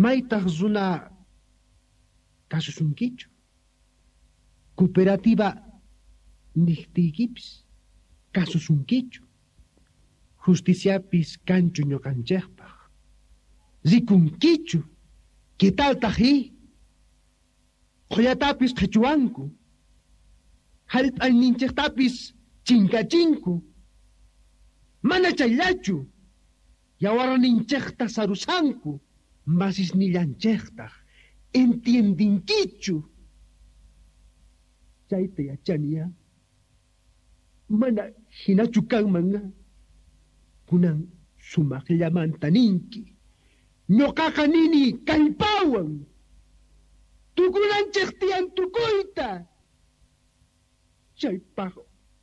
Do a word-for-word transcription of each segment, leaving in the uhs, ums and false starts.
Maytaq runa kasusunkichu. Cooperativa niqtiykipis kasusunkichu. Justiciapis kanchu ñuqanchikpaq. Rikunkichu. ¿Qué taltaq i? Qullatapis qhichwanku. Hallp'ayninchiktapis chinkachinku. Mana chayllachu. Yawarninchikta sarusanku. Masisnillanchiktaq. Entiendinkichu. Chayta yachaniya. Mana hinachu kanman. Kunan sumaqllamanta ninki. Ñuqaqa nini kallpawan. Tukunanchik tiyan tukuyta. Chaypaq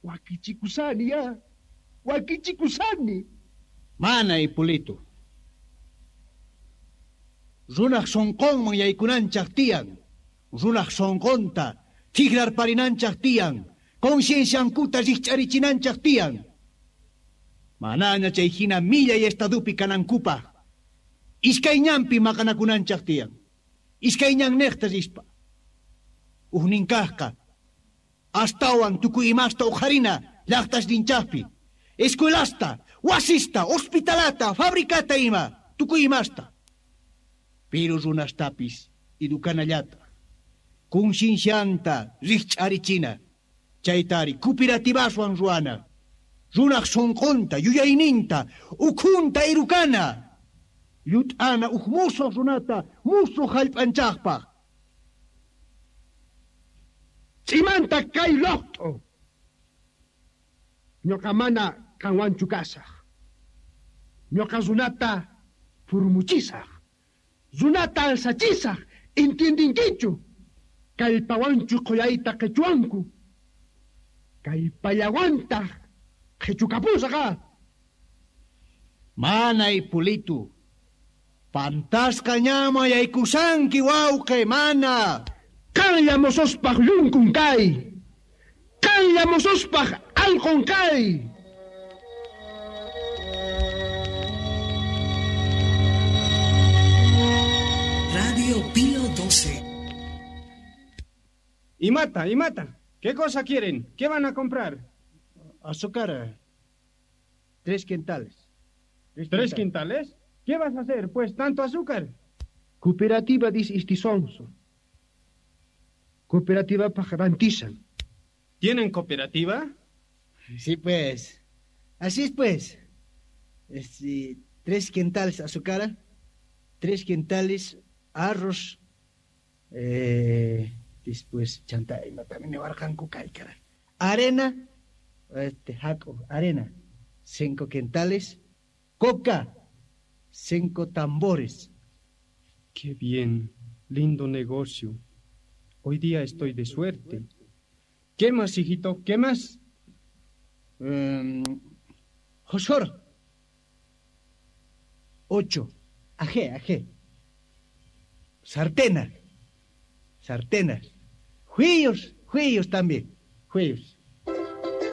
wakichikusani ya. Wakichikusani. Mana Hipólito. Runaq sunqunman yaykunanchaq tiyan. Runaq sunqunta tikrarparinanchaq tiyan. Concienciankuta rikch'arichinanchaq tiyan. Manaña chay hina millay estadupi kanankupaq. Iskay ñanpi maqanakunanchaq tiyan. Iskay ñanniqta rispa. Ujninkaqqa astawan tukuy imasta uqharina llaqtasninchaqpi. Escuelasta, wasista, hospitalata, fabricata ima, tukuy imasta. Pero runastapis edukanallata. Conciencianta rikch'arichina. Chaytari cooperativaswan ruwana. Runaq sunqunta, yuyayninta, ukhunta irukana. Llut'ana uj musuq runata, musuq hallp'anchaqpaq. Ch'imanta kay luqt'u. Ñuqa mana qanwanchu kasaq. Ñuqa runata furmuchisaq. Runata alsachisaq. Entiendinkichu. Kallpawanchu qullayta qichwanku. Kallpallawantaq qichukapusaq. Mana Hipólito. Pantasqa ñama yaykusanki wawqi, mana. Qanlla mosospaq llunkun kay. Qanlla mosospaq allqun kay. Radio Pío doce. Y mata, y mata. ¿Qué cosa quieren? ¿Qué van a comprar? Azúcar. Tres quintales. ¿Tres, ¿Tres quintales? ¿Qué vas a hacer, pues, tanto azúcar? Cooperativa dice istisonso. Cooperativa pajarantisan. ¿Tienen cooperativa? Sí, pues. Así es, pues. Este, tres quintales azúcar, tres quintales arroz, eh, después chanta, también arena, este, jaco, arena, cinco quintales, coca, cinco tambores. Qué bien, lindo negocio. Hoy día estoy de suerte. ¿Qué más, hijito? ¿Qué más? Um, Josor. Ocho. Ajé, ajé. Sartena. Sartenas. Juillos, juillos también. Juillos.